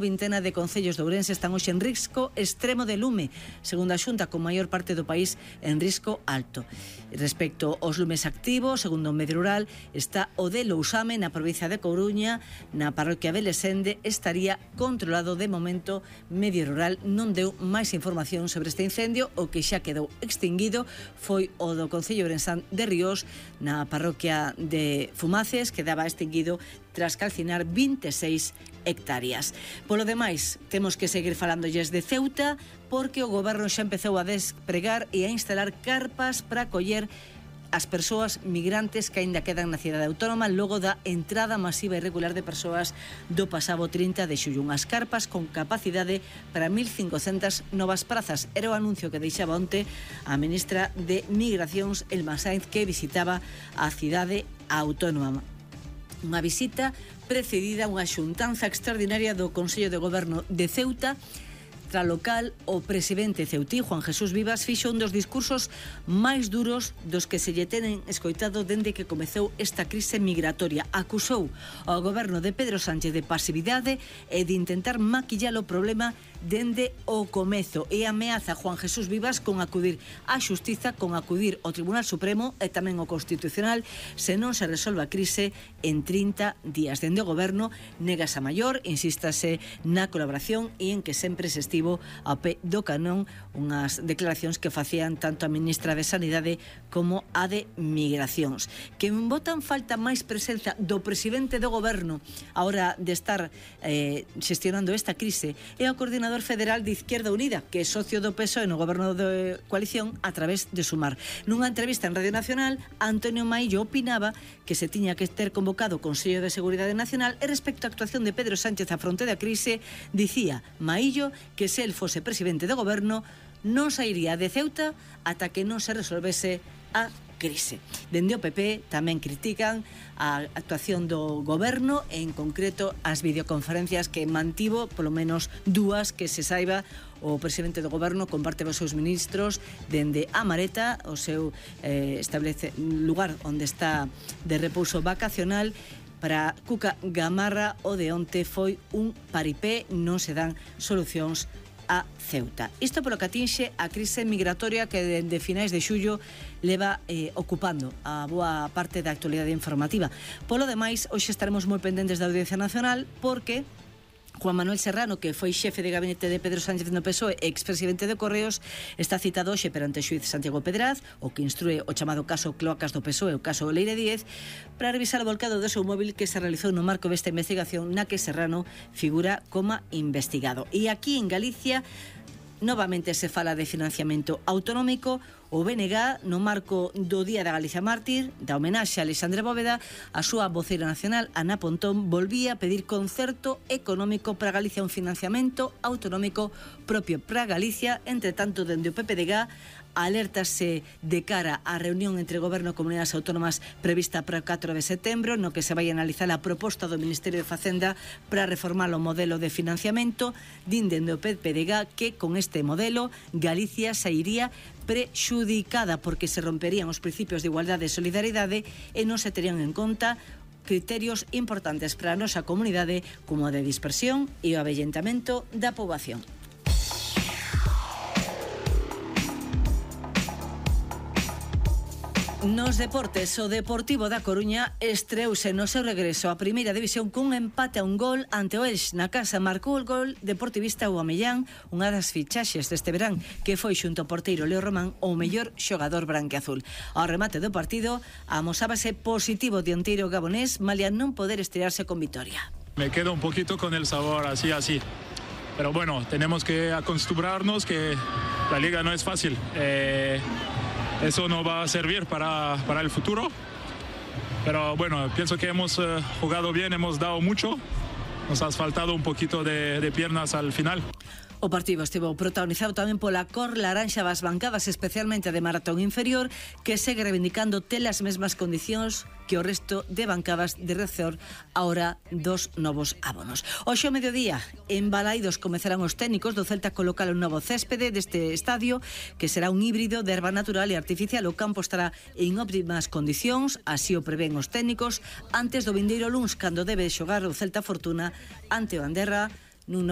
Vintena de concellos de Ourense están hoxe en risco extremo de lume, segundo a Xunta, con maior parte do país en risco alto. Respecto aos lumes activos, segundo o Medio Rural, está o de Lousame na provincia de Coruña, na parroquia de Lesende, estaría controlado de momento. Medio Rural non deu máis información sobre este incendio. O que xa quedou extinguido foi o do concello ourensán de Ríos, na parroquia de Fumaces, que daba extinguido tras calcinar 26 hectáreas. Polo demais, temos que seguir falándolles de Ceuta, porque o goberno xa empezou a despregar e a instalar carpas para acoller as persoas migrantes que aínda quedan na cidade autónoma logo da entrada masiva e irregular de persoas do pasado 30 de xullo. Unhas carpas con capacidade para 1.500 novas prazas. Era o anuncio que deixaba onte a ministra de Migracións, Elma Sainz, que visitaba a cidade autónoma. Unha visita precedida a unha xuntanza extraordinaria do Consello de Goberno de Ceuta. Tra local, o presidente ceutí, Juan Jesús Vivas, fixo un dos discursos máis duros dos que se lle tenen escoitado dende que comezou esta crise migratoria. Acusou ao goberno de Pedro Sánchez de pasividade e de intentar maquillar o problema dende o comezo, e ameaza Juan Jesús Vivas con acudir á xustiza, con acudir ao Tribunal Supremo e tamén ao Constitucional se non se resolve a crise en 30 días. Dende o goberno negas a maior, insístase na colaboración e en que sempre se estivo ao pé do canón, unhas declaracións que facían tanto a ministra de Sanidade como a de Migracións. Que botan falta máis presenza do presidente do goberno a hora de estar xestionando esta crise é o coordinador federal de Izquierda Unida, que é socio do PSOE no goberno de coalición a través de Sumar. Nunha entrevista en Radio Nacional, Antonio Maillo opinaba que se tiña que ter convocado o Consello de Seguridade Nacional, e respecto á actuación de Pedro Sánchez a fronte da crise, dicía Maillo que se el fose presidente do goberno non sairía de Ceuta ata que non se resolvese a crise. Dende o PP tamén critican a actuación do goberno, en concreto as videoconferencias que mantivo, polo menos dúas que se saiba, o presidente do goberno comparte os seus ministros dende a Mareta, o seu lugar onde está de repouso vacacional. Para Cuca Gamarra, o de onte foi un paripé, non se dan solucións a Ceuta. Isto polo que atinxe a crise migratoria que dende finais de xullo leva ocupando a boa parte da actualidade informativa. Polo demais, hoxe estaremos moi pendentes da Audiencia Nacional, porque Juan Manuel Serrano, que foi xefe de gabinete de Pedro Sánchez no PSOE e expresidente de Correos, está citado hoxe perante o xuíz Santiago Pedraz, o que instrue o chamado caso Cloacas do PSOE, o caso Leire Díez, para revisar o volcado do seu móvil que se realizou no marco desta investigación na que Serrano figura como investigado. E aquí en Galicia novamente se fala de financiamento autonómico. O BNG, no marco do Día da Galicia Mártir, da homenaxe a Alexandre Bóveda, a súa voceira nacional, Ana Pontón, volvía a pedir concerto económico para Galicia, un financiamento autonómico propio para Galicia. Entre tanto, dende o PPDG, alértase de cara á reunión entre Goberno e Comunidades Autónomas prevista para o 4 de setembro, no que se vai analizar a proposta do Ministerio de Facenda para reformar o modelo de financiamento. Din dende o PPDG que con este modelo Galicia sairía prexudicada porque se romperían os principios de igualdade e solidaridade e non se terían en conta criterios importantes para a nosa comunidade como a de dispersión e o avellentamento da poboación. Nos deportes, o Deportivo da Coruña estreouse no seu regreso á primeira división cun empate a un gol ante o Elx na casa. Marcou o gol deportivista Aubameyang, unha das fichaxes deste verán, que foi xunto ao porteiro Leo Román o mellor xogador branquiazul. Ao remate do partido, amosábase positivo dianteiro gabonés, malia non poder estrearse con vitoria. Me quedo un poquito con el sabor así. Pero bueno, tenemos que acostumbrarnos que la liga no es fácil. Eso no va a servir para el futuro. Pero bueno, pienso que hemos jugado bien, hemos dado mucho. Nos ha faltado un poquito de piernas al final. O partido estivo protagonizado tamén pola cor laranxa das bancadas, especialmente de maratón inferior, que segue reivindicando ter as mesmas condicións que o resto de bancadas de Rezor a hora dos novos abonos. Hoxe ao mediodía, en Balaidos comezarán os técnicos do Celta a colocar un novo céspede deste estadio, que será un híbrido de herba natural e artificial. O campo estará en óptimas condicións, así o prevén os técnicos, antes do vindeiro luns, cando debe xogar o Celta Fortuna ante o Anderra nun novo